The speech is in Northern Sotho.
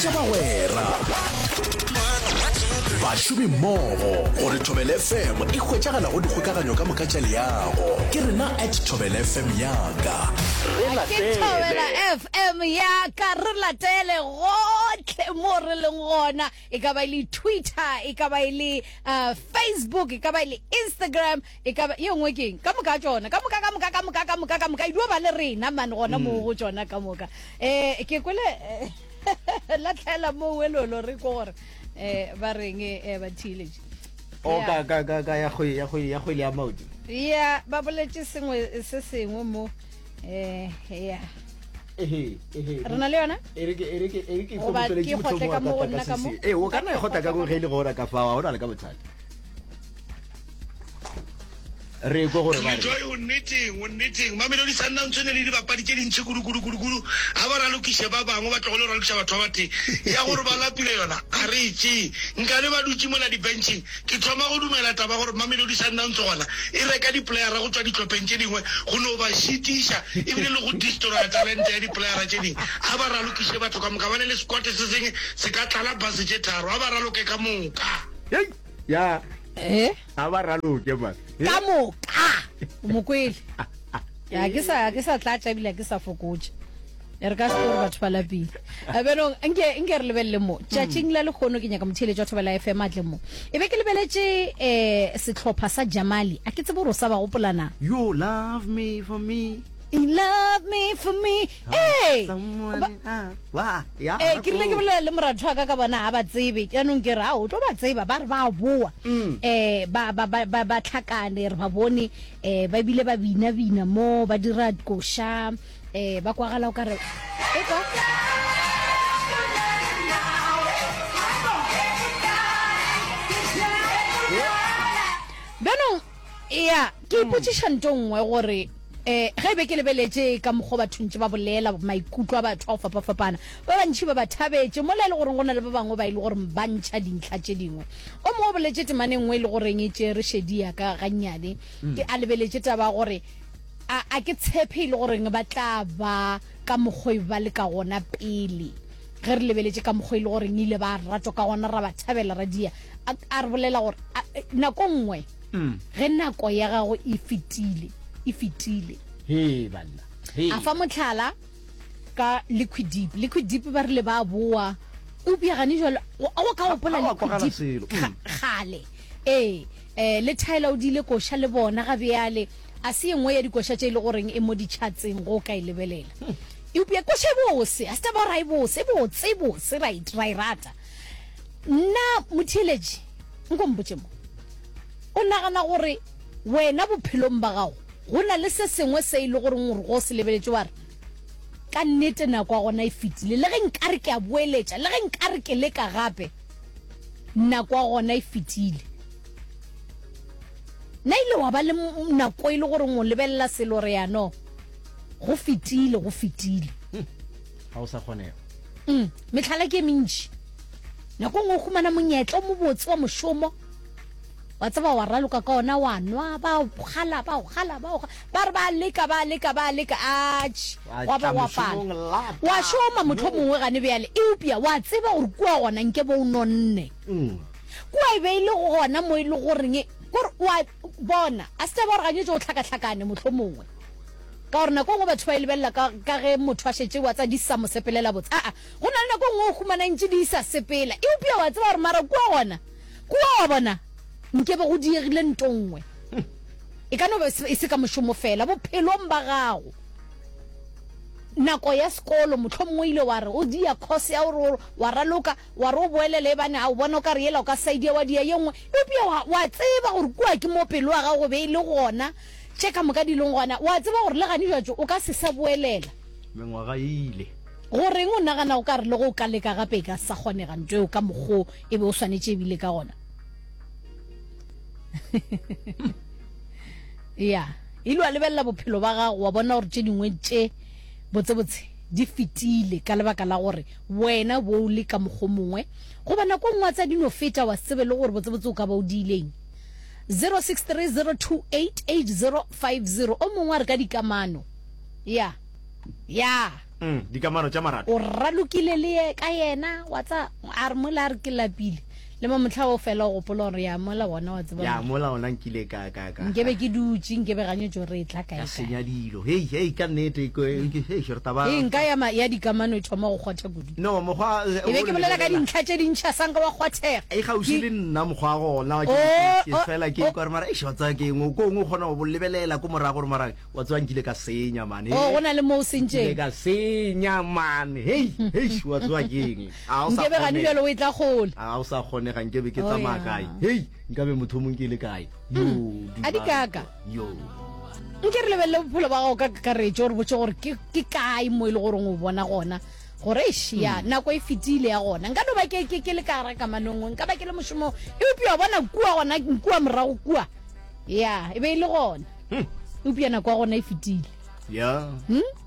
Laletša bagwera, bašomimmogo gore Thobela FM e hwetšagala go dikgokaganyo ka moka tša leago. Ke rena at Thobela FM yaka. Re Ke Thobela latele. FM ya ka, re latele gohle mo re leng gona, e ka ba e le Twitter, e ka ba e le uh, Facebook, e ka ba e le Instagram, E ka ba, ye nngwe ke eng? Ka moka tšona, ka moka, ka moka, ka moka, ka moka, ka moka, e dio ba le rena man gona moo go tšona ka moka. Eh, ke kwele eh, latlhela mo welolo re ko gore eh ba reng eh ba theeletše. O oh, ka ka ka ka ya go ya go ya go ya maoto. Ya, ba boletše sengwe se sengwe mo eh ya. Ehe, ehe. Re na le yona? E re ke e re ke e re ke Goba ke kgotle ka mo go nna ka mo? Eh, o ka nna e kgotla ka go ge e le gore ka fa, ga o na le ka bothata. Re kwe gore ba re. Joy o nneteng, o nneteng. Mamelodi Sundowns e ne le dibapadi tše dintši kudu kudu kudu kudu. Ga ba ralokiše ba bangwe, ba tlogele go ralokiša batho ba batee. Ya gore ba lapile yona ga re e tšee. Nkabe ba dutše mola di-benching. Ke thoma go dumela taba ya gore Mamelodi Sundowns gona e reka di-playera go tšwa dihlopheng tše dingwe go no ba šitiša ebile le go destroya talente ya di-playera tše dingwe. Ga ba ralokiše batho ka moka, ba ne le squad se sengwe se ka tlala bus tše tharo. Ga ba raloke ka moka. Hei! Ya. Eh? A ba raloke man. Ka moka. O mo kwele. Ya ke sa ke sa tlatša ebile ke sa fokotša. E re ka se gore batho ba lapile. A bjanong nke nke re lebelele mo. Tšatšing la lehono ke nyaka motheeletši wa Thobela FM a tle mo. E be ke lebeletše eh sehlopha sa Jamali. A ke tsebe gore o sa ba gopola na. You love me for me. You love me for me. Ee. Ee, ke rile ke bolela le moratho wa ka ka bona ga ba tsebe. Jaanong ke re, ao, o tlo ba tseba, ba re ba boa. Um ba, ba, ba, ba, ba tlhakane, re ba bone, um ba bile ba bina-bina mo, ba dira koša, um ba kwagala o ka re, e kwa. Bjanong, ya, ke ipotšiša nto nngwe gore, um ge e be ke lebeletše ka mokgwa batho ntše ba bolela maikutlo a batho a go fapafapana, ba bantši ba ba thabetše, mola e le goreng go na le ba bangwe ba e le goreng ba ntšha dintlha tše dingwe. O mongwe o boletše temana e nngwe e le goreng e tšere šedi ya ka gannyane, ke a lebeletše taba ya gore a, a ke tshepe e le goreng ba tla ba ka mokgwa e ba le ka gona pele. Ge re lebeletše ka mokgwa e le goreng ile ba ratwa ka gona, ra ba thabela, ra dia. A, a re bolela gore a, nako nngwe Ge nako ya gago e fetile, e fetile. Hee banna, hee. A fa mohlala ka Liquid Deep. Liquid Deep ba rile ba boa, eupša gane jwale go ka gopola Liquid Deep kgale. Ee, eh, le Tyler o diile koša le bona ga bjale. A se ye nngwe ya dikoša tše e le goreng e mo di-chartseng go ka e lebelela. Eupša koša e bose, a se taba gore ga e bose, e botse, e bose, ra e, ra e rata. Nna motheeletši, nko mpotše mo. O nagana gore wena bophelong ba gago go na le se sengwe se e le goreng gore go se lebeletše wa re, Ka nnete nako ya gona e fetile, le ge nkare ke a boeletša, le ge nkare ke leka gape, nako ya gona e fetile. Na ile wa ba le nako e le goreng o lebelela selo re ya no, go fetile, go fetile. Ga o sa kgonega. Mm, mehlala ke e mentši. Nako e nngwe o humana monyetla o mobotse wa mošomo, wa tseba wa raloka ka ona wa nwa, ba o gala, ba o gala, ba o gala, ba re ba leka, ba leka, ba leka, atšhe, Wa wa ba tla wa pala. mošomong lata. Wa šoma mohlomongwe gane bjale, eupša wa tseba gore kua gona nke bo o nonne. Mm. Kua e be e le gona mo e le goreng, kore wa bona, a se taba gore ganyetše o hlakahlakane mohlomongwe. Ka gore nako e nngwe batho ba e lebelela ka, ka ge motho a šetše wa tsa di sa mo sepelela botse. Aa, go na le nako e nngwe o humana ntše di sa sepela, eupša wa tseba gore mara kua gona, kua wa bona, nke be go diegile nto nngwe. E ka no ba e se ka mošomo fela, bophelong ba gago. Nako ya sekolo, mohlomongwe o ile wa re o dia course ya gore wa raloka, wa re o boelele ebane a o bona o ka re yela o ka sa e dia wa dia ye nngwe, eupša wa, wa tseba gore kua ke mo pelo ya gago be e le gona. Tše ka moka di leng gona, o a tseba gore le gane bjatšo o ka se sa boelela. Mengwaga e ile. Go reng o nagana o ka re le ge o ka leka gape e ka se sa kgonega nto eo ka mokgo e be o swanetše e bile ka gona? Ya, ile wa lebelela bophelo ba gago wa bona gore tše dingwe tše botsebotse di fetile ka lebaka la gore wena bo o le ka mokgo mongwe, goba nako e nngwe wa tsa di no feta wa se tsebe le gore botsebotse o ka ba o diileng. 0630288050 o mongwe a re ka dikamano ya ya. Mm, dikamano tša marato. O ralokile le ye ka yena, wa tsa, a re mola a re ke lapile. Le mo mohla o fela o gopola gore ya mola wona wa tseba. Ya mola ona nkile ka ka ka. Nkebe ke dutše, nkebe ganyetšo re tla kae kae. Ka senya dilo. Hei, hei ka nnete ke hei re taba. Hei nka ya ya dikamano e thoma go kgwatha kudu. No, mokgwa E be ke bolela ka dintlha tše dintšha sanka wa kgwathega. E gausi le nna mokgwa gona ke ke fela ke kwa re mara eish wa tsaya ke eng ko ngwe kgona go lebelela ko morago gore mara Wa tseba nkile ka senya man. Oh, go na le mo o sentšeng. Nkile ka senya man. Hei, hei, wa tseba ke eng? A o sa Nkebe gane bjalo o e tla kgole. A o sa kgonega nkebe ke oh, tsamaya kae? Hei, nkabe motho o mong ke le kae? Yo, mm. A di kaka. Yo. Nke re lebelele bophelo ba gago ka kakaretšo gore botse gore ke ke kae mo e le goreng o bona gona gore eish ya mm. nako e fetile ya gona nka no ba ke ke ke le ka gara kamanong nka ba ke le mošomo eupša bona kua gona kua morago kua ya e be e le gona hmm. eupša nako ya gona e fetile ya hmm?